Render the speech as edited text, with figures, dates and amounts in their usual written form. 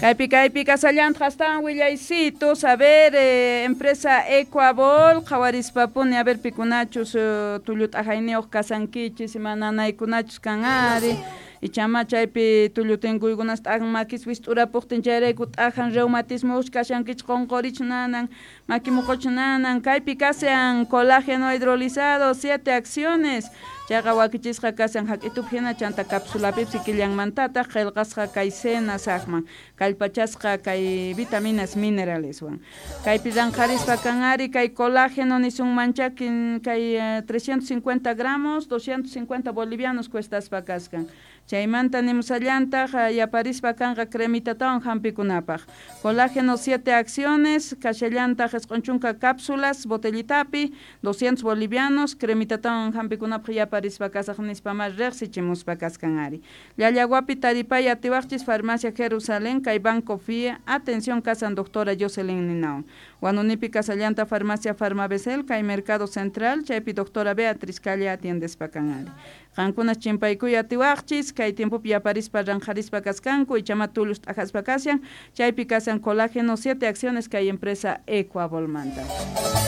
Kaypi kaypi kasallantaq astawan willaysitos, a ver, empresa Ecuabol, qhawarispapuni, a ver, pikunachus tullu t'ajayniyuq kasankichis, ima nanaykunachus kan ari, ichama chaypi tullu tinkuykunas t'ajan makis wist'urapuqtin chayrayku t'ajan reumatismo kashankichis qonqorich nanan, maki muquch nanan, kaypi kashan colágeno hidrolizado, 7 acciones, chayqa wakichisqa kashan hak'itupi hina chanta cápsulapipis killanmantataq qillqasqa kay cena saqman, kallpachasqa kay vitaminas mineraleswan. Kaypi ranqharispa kan ari kay colágeno nisunmancha kay 350 gramos, 250 bolivianos cuestaspa kaskan. Chaymanta nimusallantaq yaparispa kanqa cremitatawan hampikunapaq. Colágeno 7 acciones, kashallantaq isqun chunka cápsulas botellitapi, 200 bolivianos, cremitatawan hampikunapaq yaparispa kasaq nispa mas riqsichimuspa kaskan ari. Llallaguapi taripay atiwaqchis Farmacia Jerusalén, kay Banco FIE, atención kasan doctora Jocelyn Ninaon. Huanunipi kasallanta Farmacia Farmabesel, kay Mercado Central, chaypi doctora Beatriz Calle atiendespa kan ari. Qankuna chimpaykuy atiwaqchis, kay tiempopi yaparispa ranqharispa kaskanku, ichama tullus t'ajaspa kashan, chaypi kasan colágeno 7 acciones kay empresa Ecuabolmanta.